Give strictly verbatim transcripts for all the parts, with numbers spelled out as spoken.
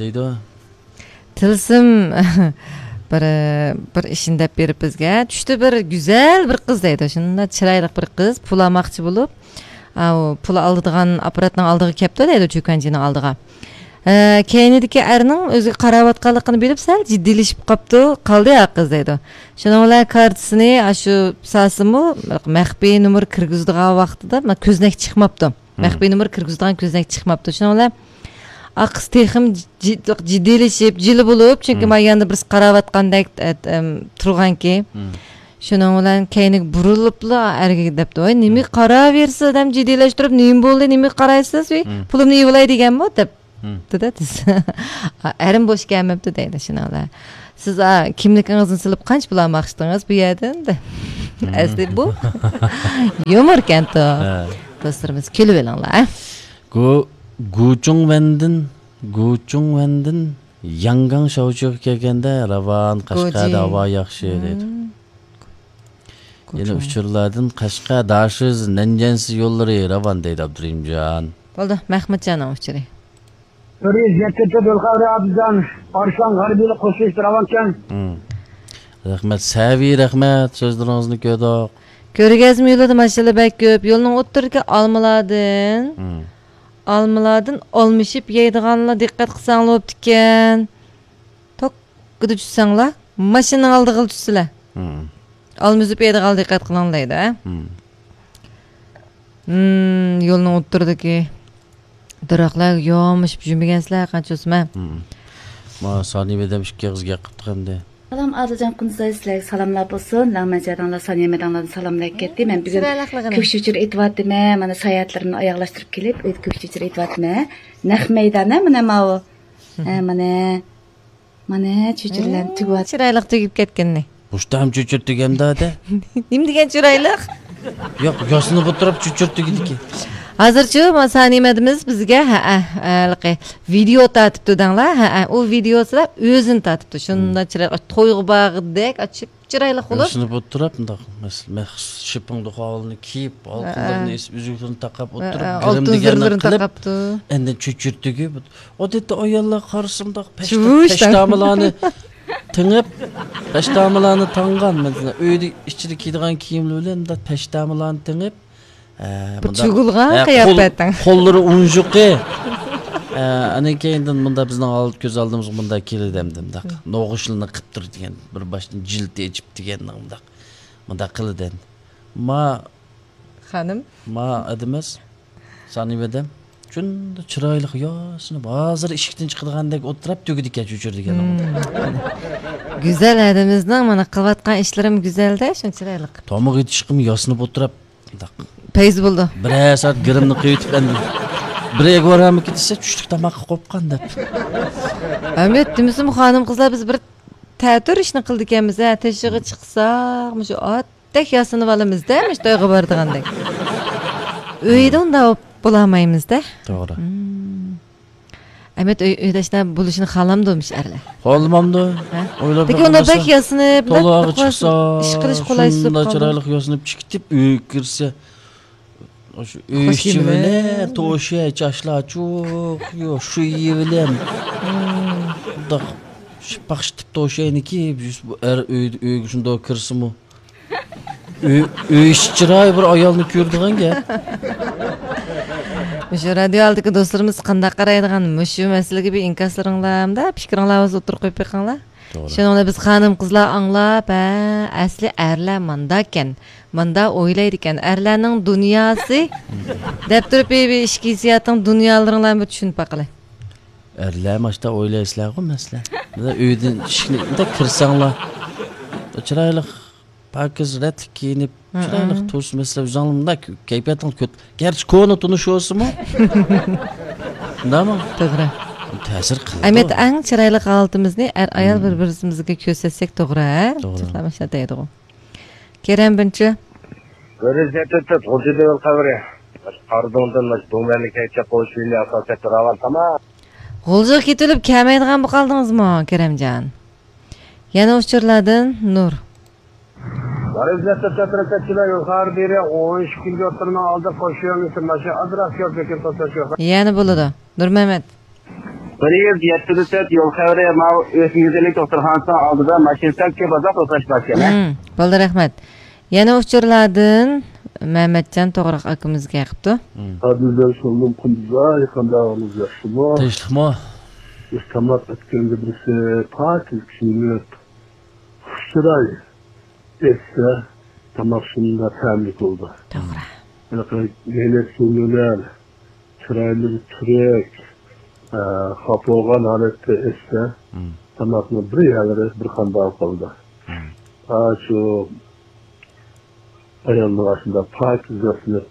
دەيدۇ. تىلسىم بىر، بىر ئىشنى دەپ بېرىپ بىزگە، چۈشتە بىر گۈزەل بىر قىز دەيدۇ، شۇنداق چىرايلىق بىر قىز پۇل ئالماقچى بولۇپ، ئاۋۇ پۇل ئالىدىغان ئاپپاراتنىڭ ئالدىغا كەپتۇ دەيدۇ، چۆكەنچىنىڭ ئالدىغا. ھە، كەينىدىكى ئەرنىڭ ئۆزىگە قاراۋاتقانلىقىنى بىلىپ، سەل جىددىيلىشىپ قاپتۇ، قالدى ھە قىز دەيدۇ. شۇنىڭ بىلەن كارتىسىنى ئاشۇ ساسىمۇ مەخپىي نومۇر كىرگۈزىدىغان ۋاقتىدا كۆزنەك چىقماپتۇ. مەخپىي نومۇر كىرگۈزىدىغان كۆزنەك چىقماپتۇ. شۇنىڭ بىلەن ئاقىسى تېخىمۇ جىددىيلىشىپ، جىلە بولۇپ، چۈنكى ماياندا بىرسى قاراۋاتقاندەك، ئە، ئەم، تۇرغانكى. شۇنىڭ بىلەن كەينىگە بۇرۇلۇپلا ئەرگە دەپتۇ، ۋاي، نېمىگە قاراۋېرىسىز، ئادەم جىددىيلەشتۈرۈپ، نېمە بولدى، نېمىگە قارايسىز، ۋى، پۇلۇمنى ئېلىۋالاي دېگەنمۇ دەپ. دېدى. ئەرىم بوش كەلمەپتۇ دەيدۇ شۇنىڭ بىلەن. سىز، ئا، كىملىكىڭىزنى سېلىپ قانچە پۇل ئالماقچىدىڭىز بۇ يەردىن؟ ئەسلى بۇ يۇمۇركەنتۇ. دوستلىرىمىز كۈلۈۋېلىڭلار. گۇ گۇچۇڭۋەندىن، گۇچۇڭۋەندىن ياڭگاڭ شاۋچۇغا كەلگەندە راۋان، قەشقەردە ھاۋا ياخشى دەيدۇ. يەنە ئۇچۇرلاردىن قەشقەر داشىز نەنجيەنسى يوللىرى راۋان دەيدۇ ئابدۇرېھىمجان. بولدى، مەخمۇتجاننىڭ ئۇچۇرى. بىر يۈز يەتتە تۆت ئۆلخەۋىرى ئابدۇزان ئارسلان غەربىيلىك قوشۇلۇشتا راۋانكەن. رەھمەت، سەۋىي رەھمەت، سۆزلىرىڭىزنى كۆردۇق. كۆرگەزمە يولىدا ماشىنىلار بەك كۆپ، يولنىڭ ئوتتۇرىدىكى ئالمىلاردىن، ئالمىلاردىن ئالمىشىپ يەيدىغانلار دىققەت قىلساڭلار بوپتىكەن. توككىدا چۈشسەڭلار، ماشىنىنىڭ ئالدىغىلا چۈشسىلە. ئالما ئۈزۈپ يەيدىغانلار دىققەت قىلىڭ دەيدۇ، ھە؟ يولنىڭ ئوتتۇرىدىكى دەرەخلەرگە يامىشىپ يۈرمىگەنسىلەر قانچە بولسىمۇ. ما سانىيە مەدەم ئىككى ئېغىز گەپ قىپتۇ ئەمدى. سالام ئادىلجان قۇنزاي، سىلەرگە سالاملار بولسۇن. لەڭمەن جاداڭلار، سانىيە مەدەڭلاردىن سالاملار كەتتى. مەن بۈگۈن كۆك چۆچۈرە ئېتىۋاتىمەن. مانا ساياھەتلىرىمنى ئاياغلاشتۇرۇپ كېلىپ، ئۆيدە كۆك چۆچۈرە ئېتىۋاتىمەن. نەق مەيدان، ھە، مانا ماۋۇ. ھە، مانا. مانا چۆچۈرىلەرنى تۈگۈۋاتىدۇ. چىرايلىق تۈگۈپ كەتكىنىنى. مۇشتام چۆچۈر تۈگەمدۇ دە. نېمە دېگەن چىرايلىق؟ ياق، ياسىنىپ ئولتۇرۇپ چۆچۈر تۈگىدىكەن. ھازىرچۇ ما سانىمەدىمىز بىزگە، ھەئە، ھېلىقى ۋىدېئو تارتىپتۇ دەڭلار. ھەئە، ئۇ ۋىدېئوسىدا ئۆزىنى تارتىپتۇ. شۇنداق چىرايلىق، تويغا بارغۇدەك، ئاچچىق چىرايلىق بولۇپ. ياسىنىپ ئولتۇرۇپ، مۇنداق مەس-، مەخسۇس شىپپىڭ دوخاۋلىنى كىيىپ، ھالقىملىرىنى ئېسىپ، ئۈزۈكلىرىنى تاقاپ ئولتۇرۇپ، ھەئە، گىرىم ئالتۇن دېگەننى زىرلىرىنى قىلىپ، تاقاپتۇ. ئاندىن چۆچۈر تۈگۈپ، ئادەتتە ئاياللار قارىسا مۇنداق پەشتا-، پەشتامىلارنى تېڭىپ، پەشتامىلارنى تاڭغان. مەسىلەن، ئۆيدە ئىچىدە كىيىدىغان كىيىملىرى بىلەن مۇنداق پەشتامىلارنى تېڭىپ، ئە، بىر مۇنداق، چۈگۈلغان، ئە، قول-، قىياپەتتىڭ. قوللىرى ئۇنجۇقى. ئە، ئاندىن كېيىندىن مۇنداق بىزنىڭ ئالدى، كۆز ئالدىمىزغا مۇنداق كېلىدۇ ئەمدى مۇنداق. نوغۇچلىرىنى قىپ تۇرىدىغان، بىر باشتىن جىلىتى ئېچىپ دېگەن مۇنداق. مۇنداق قىلىدۇ ئەمدى. ما خانىم. ما ئادىمىز، سانىۋەدەم. شۇنداق چىرايلىق ياسىنىپ، ھازىر ئىشىكتىن چىقىدىغاندەك ئولتۇرۇپ تۈگىدىكەن چۆچۈر دېگەن. گۈزەل ئادىمىزنىڭ مانا قىلىۋاتقان ئىشلىرىمۇ گۈزەل-دە، شۇ چىرايلىق. تاماق يېتىشقىمۇ ياسىنىپ ئولتۇرۇپ، مۇنداق. پەيز بولىدۇ. بىرەر سائەت گىرىمنى قىيىۋېتىپ، ئەمدى بىر ئەگۋارامىكى دېسە، چۈشلۈك تاماققا قوپقان دەپ. ئەمەت، دېمىسىمۇ خانىم-قىزلار بىز بىر تەتۈر ئىشنى قىلىدىكەنمىز، ھە، تېشىغا چىقساق، مۇشۇ ئات دەك ياسىنىپ ئالىمىز-دە، مۇشۇ تويغا بارىدىغاندەك. ئۆيدە ئۇنداق بولالمايمىز-دە. توغرا. ئەمەت، ئۆي، ئۆيدە شۇنداق بولۇشنى خالامدۇ مۇشۇ ئەرلەر؟ خالىمامدۇ؟ ھە؟ ئويلاپ لېكىن ئۇنداق بەك ياسىنىپ، تولاغا چىقسا، ئىش قىلىش قولايسىز بولۇپ قالىدۇ. چىرايلىق ياسىنىپ چىقىپ كېتىپ، ئۆيگە كىرسە، ئاشۇ ئۆي ئىچى بىلەن توشۇ، چاچلار چۇق، يو، شۇ يېۋىلەم. مۇنداق شىپپاق شىتىپ توشۇينىكى، بۇ ئەر ئۆيدە، ئۆيگە شۇنداق كىرسىمۇ. ئۆي، ئۆي ئىچى چىراي بىر ئايالنى كۆرىدىغان گەپ. مۇشۇ رادىيو ئالدىدىكى دوستلىرىمىز قانداق قارايدىغان مۇشۇ مەسىلىگە بىر ئىنكاسلىرىڭلار ھەمدە پىكرىڭلارنى ئوتتۇرىغا قويۇپ بېقىڭلار. توغرا. شۇنىڭ بىلەن بىز خانىم-قىزلار ئاڭلاپ، ھە، ئەسلى ئەرلەر مانداكەن، ماندا ئويلايدىكەن، ئەرلەرنىڭ دۇنياسى دەپ تۇرۇپ، بىر، بىر ئىچكى ھېسسىياتىڭ دۇنيالىرىڭلارنى بىر چۈشىنىپ باقىلى. ئەرلەر ماشتا ئويلايسىلەرغۇ، مەسىلەن. مانا ئۆيدىن ئىشىكنى مۇنداق كىرسەڭلار، چىرايلىق، پاكىز، رەتلىك كىيىنىپ، چىرايلىق تۇرسا، مەسىلەن، ئۆزۈڭلار مۇنداق كەيپىياتىڭ كۆت-، گەرچە كونا تونۇش بولسىمۇ. شۇنداقمۇ؟ توغرا. تەسىر قىلىدۇ. ئەمەت، ئەڭ چىرايلىق ھالىتىمىزنى ئەر-ئايال بىر-بىرىمىزگە كۆرسەتسەك توغرا، ھە؟ توغرا. چاقلار ماشۇنداق دەيدىغۇ. كېرەم بىنچە. بىر يۈز يەتتە تۆت غۇلجا دېۋىل قەبرە. قارىدىڭدىن ماش دۇڭمەنلىك ھەيچە قوشۇينى ئاساسەتتە راۋان تامام. غۇلجىغا كېتىۋېلىپ كەلمەيدىغان بولۇپ قالدىڭىزمۇ، كېرەمجان؟ يەنە ئۇچۇرلاردىن نۇر. بىر يۈز يەتتە تۆت رەكەتچىلەر يۇقىرى دېرى ئون ئىككى كىلومېتىرنىڭ ئالدى قوشۇينى ماشىنا ئازراق يول بېكىن توساش يوق. يەنە بولىدۇ. نۇرمەمەت. بىر يۈز يەتتە يول خەۋىرى، ماۋۇ ئۆسمە گۈزەللىك دوختۇرخانىسىنىڭ ئالدىدا ماشىنا سەل كۆپ ئازراق توختاش باركەن، ھە؟ مم، بولدى، رەھمەت. يەنە ئۇچۇرلاردىن مەمەتجان توغراق ئاكىمىز كەلىپتۇ. مم. ئادىلجان، سالام، قۇندۇزاي، قانداق ئەھۋالىڭىز، ياخشىمۇ؟ تىنچلىقمۇ؟ بىز تاماق ئەتكەندە بىرسى پاكىز كىيىنىپ، خۇش چىراي ئەتسە، تاماق شۇنداق تەملىك بولىدۇ. توغرا. ھېلىقى يەنە سۇنۇلار، چىرايلىرى تۈرۈك، ئە، خاپا بولغان ھالەتتە ئەتسە، مم. تاماقنى بىر يەرلىرى بىر قانداق قىلىدۇ. مم. ئا، شۇ ئايالنىڭ ئاشۇنداق پاكىز ياسىنىپ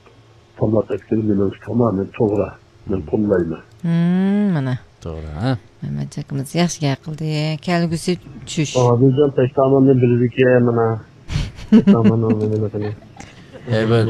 تاماق ئەتكىنى مېنىڭچە تامامەن توغرا. مەن قوللايمەن. مم، مانا. توغرا، ھە؟ مەمەت ئاكىمىز ياخشى گەپ قىلدى. كەلگۈسى چۈش. ئادىلجان، پەشتاماننى بىلىدىكەن، مانا. پەشتاماننىڭ نېمىلىكىنى. ھەي، بىر